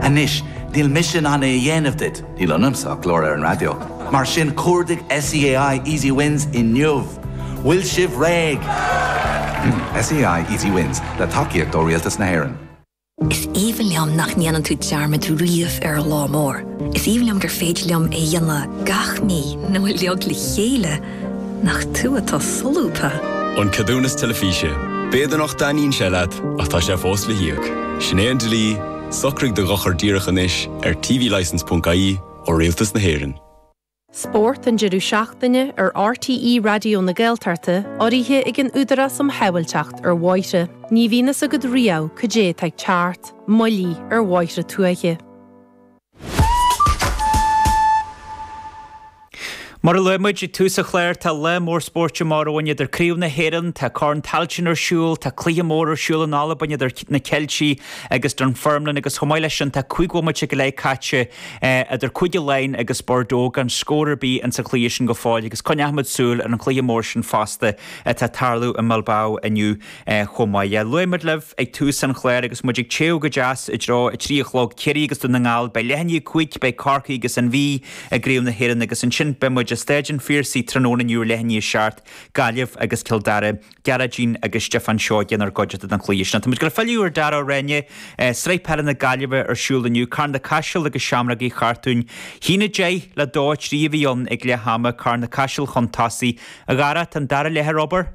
Anois, níl mise in ann é a dhéanamh duit, níl ionamsa ach glór ar an raidió, mar sin cuardaigh SEAI Easy Wins inniu! Bhfuil sibh réidh? SEAI Easy Wins, le tacaíocht ó Rialtas na hÉireann. Is aoibhinn liom nach ndéanann tú dearmad riamh ar an lá mór. Is aoibhinn liom gur féidir liom é a dhéanamh gach mí nó uilig le chéile. Nach tú atá solúbtha! An Ceadúnas Teilifíse. B'fhéidir nach dtaitníonn sé leat, ach tá sé fós le híoc. Sin é an dlí, socraigh do dhochar díreach anois ar tvlicence.ie ó Rialtas na hÉireann. Spórt an deireadh seachtaine ar RTÉ Raidió na Gaeltachta urraithe ag an Údarás um Shábháilteacht ar Bhóithre. Ní bhíonn fhios agat riamh cad é atá ag teacht, moilligh ar bhóithre tuaithe. Mar a luaigh muid ag tús an chláir, tá lá mór spóirt amach romhainn idir Craobh na hÉireann, tá Corn Tailteann ar siúl, tá cluiche mór ar siúl in Albain idir na Ceiltigh agus Dunfermline agus chomh maith leis sin tá 5 bhomaite go leith caite idir Cúige Laighean agus Bordeaux gan scór ar bith ins an chluiche sin go fóill agus coinneochaimid súil ar an chluiche mór sin fosta atá ag tarlú i mBilbao inniu chomh maith. Luaigh muid libh ag tús an chláir agus muid ag téamh go deas i dtreo 3 a chlog, Ciarraí agus Dún na nGall, beidh leath i ndiaidh 5, beidh Corcaigh agus an Mhí i gCraobh na hÉireann agus ansin beidh muid i Staid an Phiarsaigh tráthnóna inniu ar leath i ndiaidh 7, Gaillimh agus Cill Dara, Gearóidín agus Stiofán Seoige inár gcuideachta don chluiche sin. Tá muid ag dul a filleadh ar Dara Ó Ráinne, Sraith Peile na Gaillimhe ar siúl inniu, Carna-Caiseal agus Seamrógaí Chartúin. 1-10 le 2-3 a bhí ann ag leath ama, Carna-Caiseal chun tosaigh. A Dhara, tá an dara leath ar obair?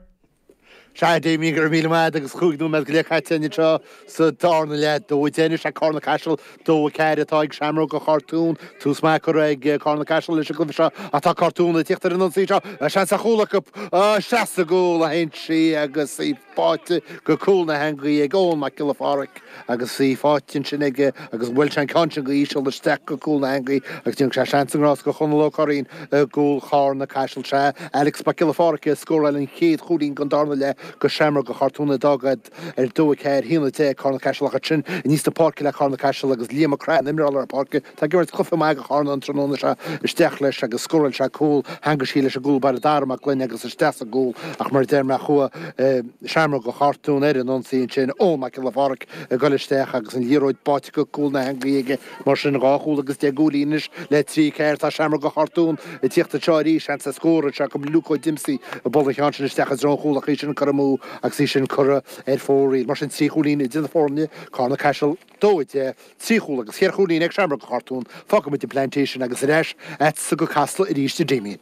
Sea, a Damien, go raibh míle maith agat agus chúig nóiméad go leith caite anseo sa darna leath. 2-10 anois ag Carna Caiseal, 2-4 atá ag Seamróga Chartún. Tús maith curtha ag Carna Caiseal leis an gcluiche seo ach tá Cartún ag tíocht ar an ionsaí seo. Seans ar chúl acu. Isteach sa gcúl a théann sí agus í báite go cúl na heangaí ag Eoin Mac Giolla Pháraic agus í faighte ansin aige agus bhuail sé an ceann sin go híseal isteach go cúl na heangaí agus déanfaidh sé seans i ngrást go Chonall Ó Curraoin i gcúl Charna Caiseal. Sea, Alex Mac Giolla Pháraic a scóráil an chéad chúilín den darna leath go Seamróga Chartún a d'fhág iad ar 2-4, 1-10 Carna Caiseal ach ansin aníos na páirce le Carna Caiseal agus Liam Mac Craith, an imreoir lár páirce, atá ag imirt cluiche maith go Charna an tráthnóna seo isteach leis agus scóráil sé cúl, theangaigh sí leis an gcúl báire Dara Mac Gloinn agus isteach sa gcúl ach mar a deir mé chuaigh Seamróga Chartún ar an ionsaí ansin, Eoin Mac Giolla Pháraic ag dul isteach agus an liathróid báite go cúl na heangaí aige. Mar sin, dhá chúl agus 10 gcúilín anois le 3 4. Tá Seamróga Chartún ag tíocht anseo arís, seans ar scór anseo acu. Luke Ó Diomsaigh ag bualadh an cheann sin isteach i dtreo an chúil ach í sin curtha amú agus í sin curtha ar fóraoil. Mar sin, trí chúilín idir na foirne, Carna Caiseal 2 10, trí chúl agus cheithre chúilín ag Seamróga Chartún. Fágfaimid an Plantation agus ar ais agatsa go Casla arís, a Damien.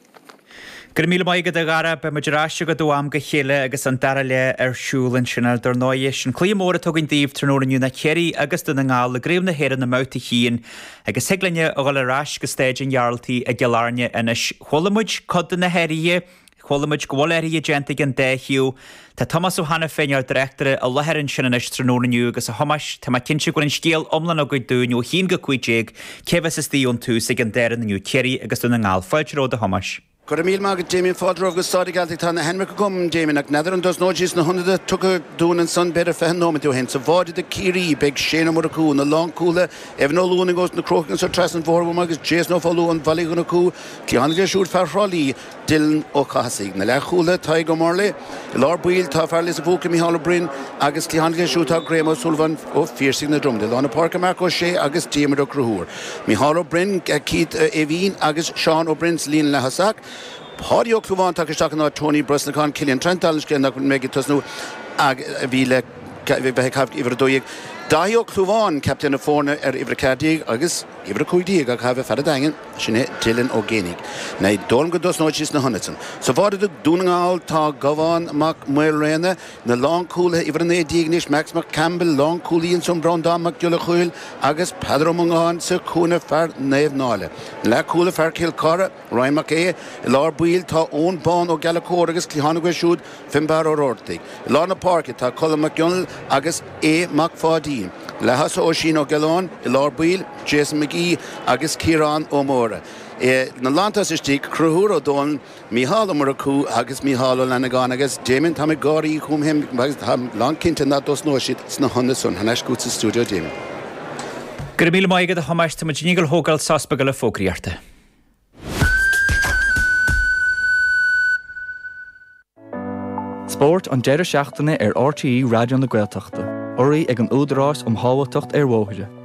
Go raibh míle maith agat a Dhara, beidh muid ar ais agat ó am go chéile agus an dara leath ar siúl ansin. Dar ndóighe, sin cluiche mór atá againn daoibh tráthnóna inniu ná Ciarraí agus Dún na nGall i gCraobh na hÉireann i mBabhta 1 agus thig linne a dhul ar ais go Staid an Ghearaltaigh i gCill Airne anois. Chuala muid cuid de na hathruithe, chuala muid go bhfuil athruithe déanta ag an dá thaobh. Tá Tomás Ó hAiniféin, ár dtráchtaire, i láthair ansin anois tráthnóna inniu agus a Thomáis, tá mé cinnte go bhfuil an scéal iomlán agaibh dúinn ó 1-15, cé a bheas istigh ón tús ag an dá fhoireann inniu, Ciarraí agus Dún na nGall. Fáilte romhat a Thomáis. Go raibh míle maith agat Damien. Fáilte romhaibh go Staid an Ghearaltaigh. Tá na hainmneacha agam, Damien, ach n'fheadar an dtosnóidh siad sna hionadaithe tugtha dúinn ansan b'fhéidir 20 nóiméad ó shin. Sa bháide do Ciarraí beidh Shane Ó Murchú, na lánchúlaithe, Evan Ó Luanaigh ós na Crócaigh anso trasna an bhóthair uaim agus Jason Ó Foghlú ón Bhaile Uí Dhonnchú, cliathánaí leo siúd fear Thrá Lí, Dylan Ó Cathasaigh. Na leathchúlaithe, Tadhg Ó Murlaigh, i lár baill tá fear Lios an Phúca, Micheál Ó Broin agus cliathánaí leo siúd tá Graham Ó Súilleabháin ó Phiarsaigh na Dromoda. I lár na páirce Marc Ó Sé agus Diarmuid Ó Conchúir. Micheál Ó Broin, Keith Aoibhín agus Seán Ó Broin sa líne leath-thosach. Páidí Ó Clúmháin tagtha isteach in áit Tony Brosnachan, Cillian Trent, dála an scéil nach mbeidh ag tosnú a bhí le bheith ag caitheamh uimhir 12. Daithí Ó Clúmháin, captaen na foirne ar uimhir 14 agus uimhir 15 á caitheamh ag fear an Daingin, sin é Dylan Ó Géibheannaigh. Ní dóigh liom go dtosnóidh siad sna hionaid san. Sa bháide do Dhún na nGall tá Gabhán Mac Maoilréana, Na lánchúlaithe, uimhir 19 anois, Max Mac Campbell, lánchúlaí ansan, Breandán Mac Giolla Chóill agus Peadar Ó Mongáin sa chúinne, fear Naomh Náille. Na leathchúlaithe, fear Chill Chartha, Ryan Mac Aodha, i lár baill tá Eoin Bán Ó Gallchóir agus cliathánaí acu siúd, Finbarr Ó Roartaigh. I lár na páirce tá Colm Mac Gionnail agus Aodh Mac Pháidín. Na leath-thosaithe Oisín Ó Giolláin, i lár baill, Jason McGee agus Ciarán Ó Mórdha. Na lántosaithe istigh, Conchúr Ó Dónaill, Mícheál Ó Murchú agus Mícheál Ó Fhlannagáin agus Damien, táim ag gáirí chugam féin agus táim lán cinnte nach dtosnóidh siad sna hionaid san. Thar n-ais chugat sa stiúideo Damien. Go raibh míle maith agat a Thomáis, tá muid i ndiaidh a dhul a thógáil sos beag le fógraíochta. Spórt an deireadh seachtaine ar RTÉ Raidió na Gaeltachta, urraithe ag an Údarás um Shábháilteacht ar Bhóithre.